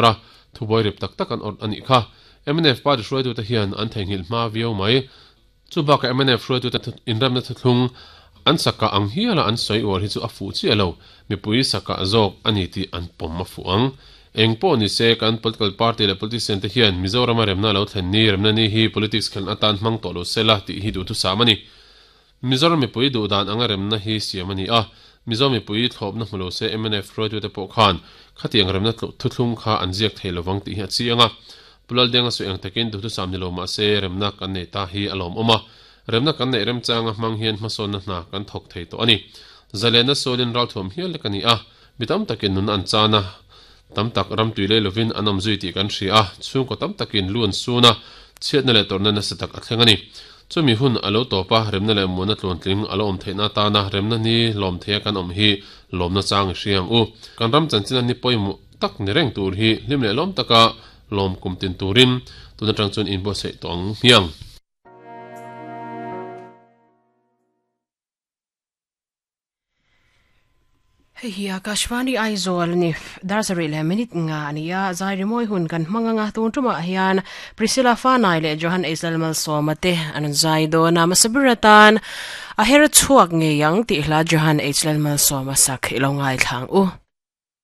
tuar a, thubuai rip tak tak an awrh a nih kha. Mnf party hruaitute hian an theihnghilh hma viau mai. Chu bakah mnf hruaitute inremna thuthlung an sakah ang hiala an sawi uar hi chu a fuh chiah lo, mipui sakah zawk a ni tih an pawm a fuh ang. Eng pawh ni se, kan political party leh politician te hian Mizorama remna lo thlen ni, remna ni hi politics khelhna atan hmang tawh lo sela tih hi duhthusam a ni. Mizoram mipui duh dan anga remna hi siam a ni a, Mizo mipui thlawpna hmu lo se mnf hruaitute pawh khan khatiang remna thuthlung kha an ziak thei lovang tih hi a chiang a. Pu Laldenga sawi ang takin duhthusam ni lo mah se remna kan nei ta hi a lawmawm a, remna kan neih remchanga hmang hian hmasawnna hna kan thawk thei tawh a ni. Zalenna sualin ralthuam hial lek a ni a, mi tam takin nun an chan a, tam tak ram tui lei lovin an awm zui tih kan hria a, chhungkaw tam takin lu an sun a, chhiatna leh tawrhna nasa tak a thleng a ni. Chumi hun a lo tawp a, remna leh muanna tluantling a lo awm theihna atana remna ni lawm theia kan awm hi lawmna chang i hria ang u. Kan ram chanchina ni pawimawh tak ni reng tur hi hlim leh lawm taka lawm kum tin turin tun atang chuan inbuatsaih tawh ang hmiang. Hei hi Akashvani Aizawl a ni. Dar sarih leh minute nga a ni a, zai rimawi hun kan hmang anga tun tumah hian Priscilla Fanai leh Johan Eisel Malsawma te an rawn zai dawn a, hmasa ber atan a her chhuak ngei ang tih hla Johan Eisel Malsawma sak i lo ngaithla ang u.